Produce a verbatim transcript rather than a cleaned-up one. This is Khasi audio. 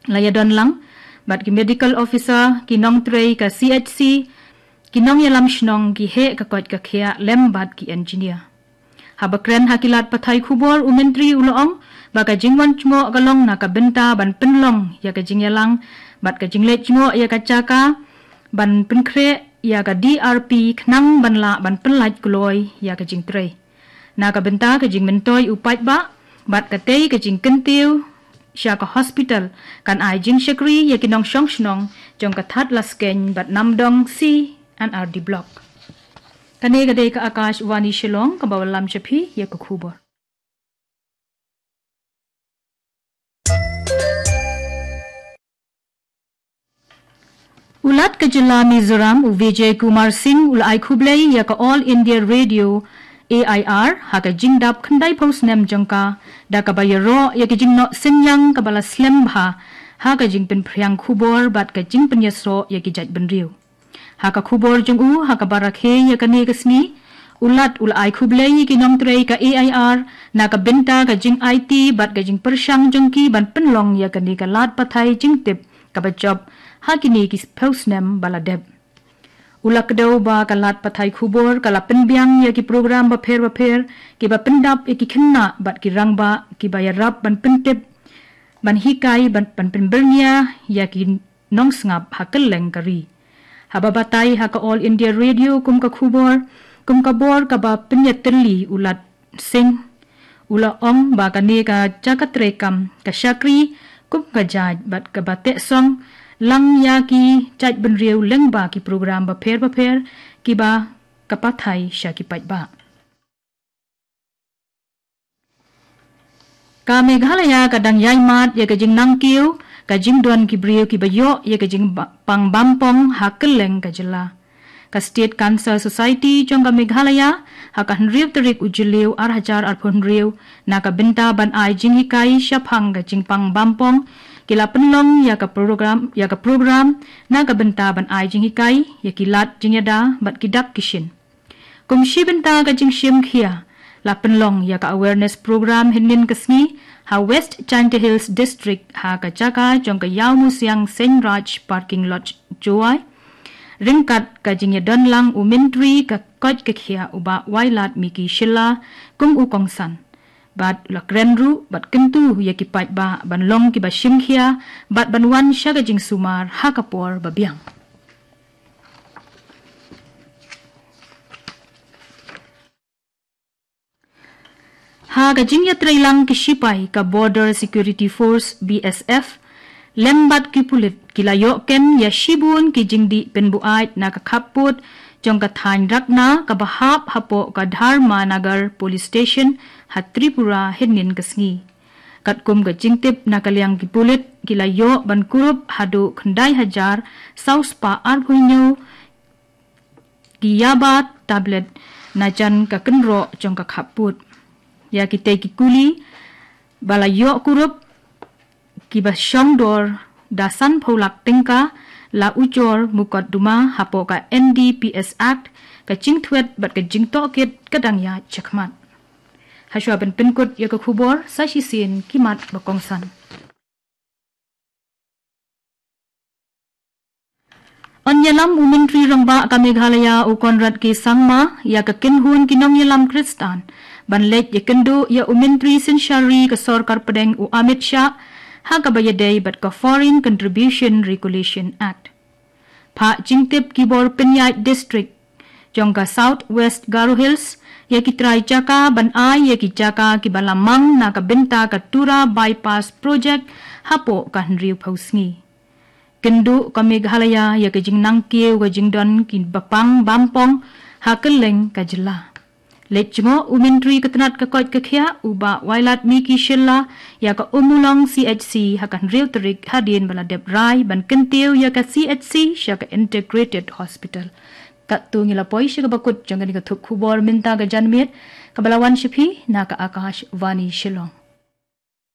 la ïadon lang bad ki medical officer, ki nongtrei ka C H C, ki nongïalam shnong, ki heh ka koit ka khiah lem bad ki engineer. Haba kren ha ki lad pathai khubor, u Myntri u la ong ba ka jingwan jngoh ka long na ka bynta ban pynlong ïa ka jingïalang bad ka jingleit jngoh ïa ka jaka, ban pynkhreh ïa ka D R P khnang ban lah ban pynlait kloi ïa ka jingtrei. Na ka bynta ka jingmyntoi u paidbah bad katei ka jingkyntiew sha ka hospital kan ai jingshakri ïa ki nongshong shnong jong ka Thadlaskein bad Namdong C and R D Block. Kane ka dei ka Akashvani Shillong kaba wallam sha phi ïa ka khubor. U Lat ka jylla Mizoram, u Vijay Kumar Singh, u la ai khublei ïa ka All India Radio, A I R, ha ka jingdap khyndaiphew snem jong ka, da kaba ïaroh ïa ka jingnoh synñiang kaba la slem bha ha ka jingpynphriang khubor bad ka jingpynïasoh ïa ki jaitbynriew. Ha ka khubor jong u ha kaba rakhe ïa kane ka sngi, u Lat u la ai khublei ïa ki nongtrei ka A I R na ka bynta ka jingaiti bad ka jingpyrshang jong ki ban pynlong ïa kane ka lad pathai jingtip kaba jop ha kine ki phew snem ba la dep. U la kdew ba ka lad pathai khubor ka la pynbiang ïa ki program bapher bapher kiba pyndap ïa ki khynnah bad ki rangbah kiba ïarap ban pyntip, ban hikai, ban, ban pynbyrngia ïa ki nongsngap ha kylleng ka ri. Haba batai ha ka All India Radio kum ka khubor, kum ka bor kaba pynïatylli, u Lat Singh u la ong ba kane ka jaka treikam ka shakri kum ka jait bad kaba tehsong lang ïa ki jaitbynriew lyngba ki program bapher bapher kiba ka pathai sha ki paidbah. Ka Meghalaya ka dang ïai mad ïa ka jingnang kiew ka jingdon ki briew kiba ïoh ïa ka jingpang bampong ha kylleng ka jylla. Ka State Cancer Society jong ka Meghalaya ha ka hynriew tarik u Jylliew ar hajar arphew hynriew, na ka bynta ban ai jinghikai shaphang ka jingpang bampong, ki la pynlong ïa ka program, ïa ka program na ka bynta ban ai jinghikai ïa ki lad jingïada bad ki dak ki shin. Kum shi bynta ka jingshim khia, la pynlong ïa ka awareness program hynnin ka sngi ha West Jaintia Hills District, ha ka jaka jong ka Ïawmusiang Seiñ Raj Parking Lot, Jowai, ryngkat ka jingïadon lang u Myntri ka koit ka khiah, u Bah Wailadmiki Shylla, kum u kongsan. Bad u la kren ruh bad kyntu ïa ki paidbah ban long kiba shim khia bad ban wan sha ka jingsumar ha ka por babiang. Ha ka jingïatreilang ki shipai ka Border Security Force, B S F, lem bad ki pulit, ki la ïoh kem ïa shibun ki jingdih pynbuaid na ka khappud jong ka thaiñ Rakna kaba hap hapoh ka Dharmanagar Police Station ha Tripura hynnin ka sngi. Katkum ka jingtip na ka liang ki pulit, ki la ïoh ban kurup haduh khyndai hajar saw spah arphew hynñiew ki yaba tablet na jan ka kynroh jong ka khappud. Ïa kitei ki kuli ba la ïoh kurup, kiba shong dor da sanphew lak tyngka, la ujor mukotduma hapoh ka N D P S Act, ka jingthwet bad ka jingtohkit ka dang ïaid shakhmat. Hashwa ban pynkut ïa ka khubor, sa shisien ki mat ba kongsan. Yn ïalam u Myntri Rangbah ka Meghalaya u Conrad K Sangma ïa ka kynhun ki nongïalam Khristan ban leit ïakynduh ïa u Myntri Synshar Ri ka Sorkar Pdeng u Amit Shah ha kaba ïadei bad ka Foreign Contribution Regulation Act. Phah jingtip ki bor pynïaid district jong ka South West Garo Hills ïa ki trai jaka ban ai ïa ki jaka kiba la mang na ka bynta ka Tura Bypass Project hapoh ka hynriewphew sngi. Kynduh ka Meghalaya ïa ka jingnang kiew ka jingdon kiba pang bampong ha kylleng ka jylla. Leit jngoh u Myntri ka tnat ka koit ka khiah u Bah Wailadmiki Shylla ïa ka Ummulong C H C ha ka hynriew tarik hadien ba la dep rai ban kyntiew ïa ka C H C sha ka Integrated Hospital. Katto ngi la poi sha kaba kut jong kane ka thup khubor mynta ka janmiet, kaba la wan sha phi na ka Akashvani Shillong.